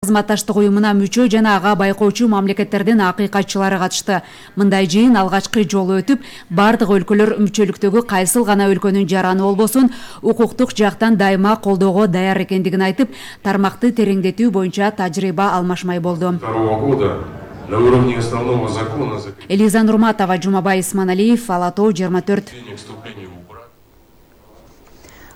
Кызматташтык уюмуна мүчө жана ага байкоочу мамлекеттердин акыйкатчылары катышты. Мындай жыйын алгачкы жолу өтүп, бардык өлкөлөр мүчөлүктөгү кайсыл гана өлкөнүн жараны болбосун, укуктук жактан дайыма колдоого даяр экендигин айтып, тармакты тереңдетүү боюнча тажрыйба алмашмай болду. Элиза Нурматова, Жумабай Исманалиев, Ала Тоо 24.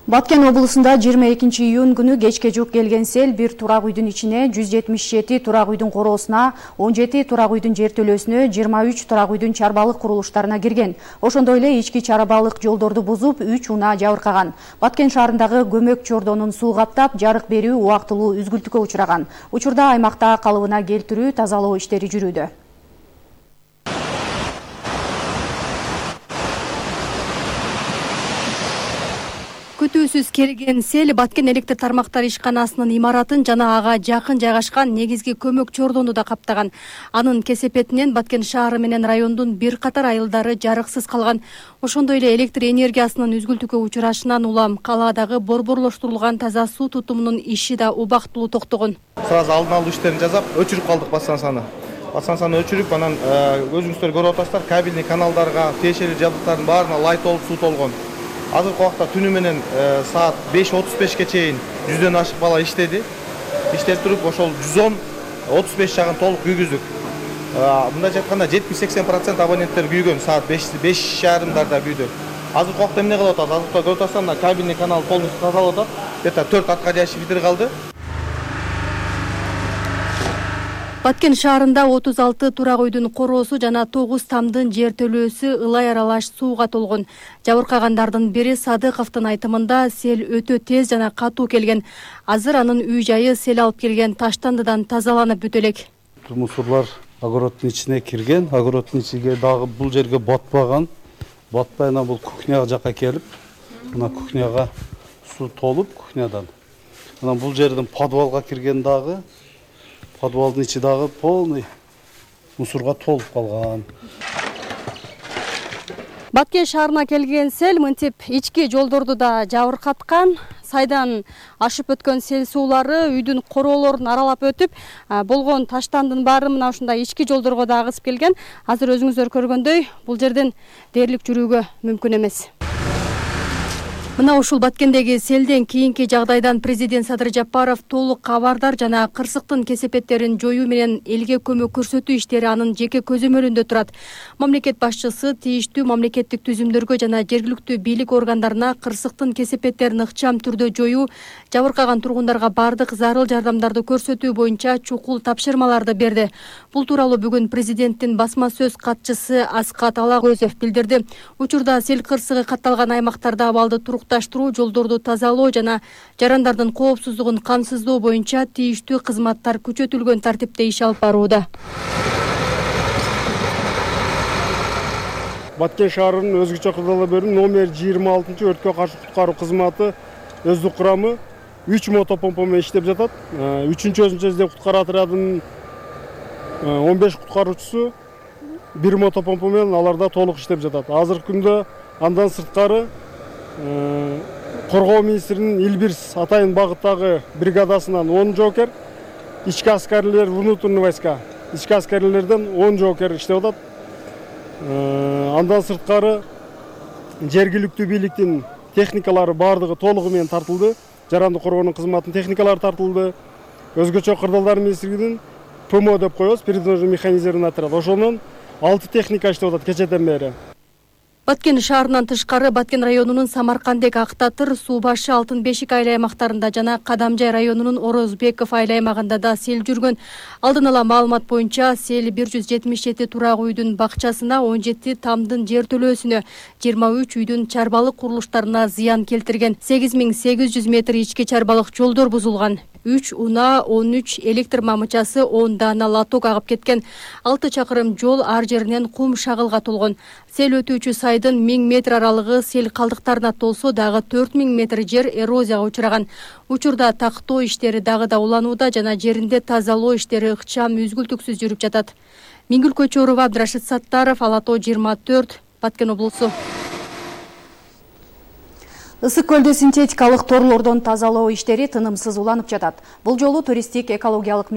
Баткен облусунда 22 июнь күнү кечке жук келген сел бир турак үйдүн ичине 177 турак үйдүн короосуна, 17 турак үйдүн жертөлөсүнө, 23 турак үйдүн чарбалык курулуштарына кирген. Ошондой эле ички чарбалык жолдорду бузуп, 3 унаа жабыркаган. Баткен шаарындагы көмөк чордонун суу каптап, жарык берүү убактылуу үзгүлтүккө учураган. Учурда аймакта калыбына келтирүү, тазалоо иштери жүрүүдө. Күтүүсүз келген сел Баткен электр тармактар ишканасынын имаратын жана ага жакын жайгашкан негизги көмөк чордону да каптаган. Анын кесепетинен Баткен шаары менен райондун бир катар айылдары жарыксыз калган. Ошондой эле электр энергиясынын үзгүлтүккө учурашынан улам калаадагы борборлоштурулган таза суу тутумунун иши да убактылуу токтогон. Сразу алдын алуу иштерин жасап, өчүрүп калдык бассансаны. Бассансаны өчүрүп, анан өзүңүздөр көрүп атасыздар, кабельный каналдарга, тиешелүү жабдыктардын баарына лай толуп суу толгон. Азыркы убакта түнү менен саат 5:35 чейин 100дөн ашык бала иштеди. Иштеп туруп, ошол 110-35 жагын толук күйгүздүк. Мындайча айтканда 70-80% абоненттер күйгөн, саат 5:30 күйдү. Азыркы убакта эмне кылып атабыз? Азыркы көрүп атасыздар, кабельный канал полностью тазалап атат. Где-то 4 откачиватель битирип калды. Баткен шаарында 36 турак үйдүн короосу жана 9 тамдын жертөлөөсү ылай аралаш сууга толгон. Жабыркагандардын бири Садыковдун айтымында сел өтө тез жана катуу келген. Азыр анын үй жайы сел алып келген таштандыдан тазаланып бүтө элек. Мусорлар огороддун ичине кирген, огороддун ичиге дагы бул жерге батпаган. Батпай ана бул кухня жакка келип, мына кухняга суу толуп кухнядан. Анан бул жерден подвалга кирген дагы. Подвалдын ичи дагы полный мусорго толуп калган. Баткен шаарына келген сел мынтип ички жолдорду да жабыркаткан. Сайдан ашып өткөн сел суулары үйдүн короолорун аралап өтүп, болгон таштандын баары мына ушундай ички жолдорго да агысып келген. Азыр өзүңүздөр көргөндөй, бул жерден дээрлик жүрүүгө мүмкүн эмес. Мына ушул Баткендеги селден кийинки жагдайдан президент Садыр Жапаров толук кабардар жана кырсыктын кесепеттерин жоюу менен элге көмөк көрсөтүү иштери анын жеке көзөмөлүндө турат. Мамлекет башчысы тийиштүү мамлекеттик түзүмдөргө жана жергиликтүү бийлик органдарына кырсыктын кесепеттерин ыкчам түрдө жоюу, жабыркаган тургундарга бардык зарыл жардамдарды көрсөтүү боюнча чукул тапшырмаларды берди. Бул тууралуу бүгүн президенттин басма сөз катчысы Аскат Алагөзов билдирди. Учурда сел кырсыгы катталган аймактарда абалды таштыруу, жолдорду тазалоо жана жарандардын коопсуздугун камсыздоо боюнча тийиштүү кызматтар күчөтүлгөн тартипте иш алып барууда. Баткен шаарынын өзгөчө кырдаалда бөлүм номер 26 өрткө каршы куткаруу кызматы өздүк курамы 3 мотопомпа менен иштеп жатат. 3-чү өзүнчө издөө куткаруу отрядынын 15 куткаруучусу 1 мотопомпа менен аларда толук иштеп жатат. Азыркы күндө андан сырткары Коргоо министринин Илбирс Атайын багыттагы бригадасынан 10 жоокер, ички аскерлер, внутренний войска, ички аскерлерден 10 жоокер иштеп атат. Андан сырткары жергиликтүү бийликтин техникалары бардыгы толугу менен тартылды. Жаранды коргоонун кызматынын техникалары тартылды. Өзгөчө кырдаалдар министрлигинин ПМО деп коебуз, передвижный механизированный отряд. Ошонун 6 техника иштеп атат кечеден бери. Баткен шаарынан тышкары Баткен районунун Самаркандек, Актатыр, Суу башы, Алтын бешик айыл аймактарында жана Кадамжай районунун Орозбеков айыл аймагында да сел жүргөн. Алдын ала маалымат боюнча сел 177 турак үйдүн бакчасына, 17 тамдын жертөлөөсүнө, 23 үйдүн чарбалык курулуштарына зыян келтирген. 8800 метр ички чарбалык жолдор бузулган. 3 унаа, 13 электр мамычасы, 10 даана лоток агып кеткен. 6 чакырым жол ар жеринен кум шагылга толгон. Сел өтүүчү сайдын 1000 метр аралыгы сел калдыктарына толсо, дагы 4000 метр жер эрозияга учураган. Учурда тактоо иштери дагы да уланууда жана жеринде тазалоо иштери ыкчам үзгүлтүксүз жүрүп жатат. Миңгүл Көчөрова, Абдрашит Саттаров, Ала Тоо 24, Баткен облусу. Ысык көлдү синтетикалык торлордон тазалоо иштери тынымсыз уланып жатат. Бул жолу туристтик экологиялык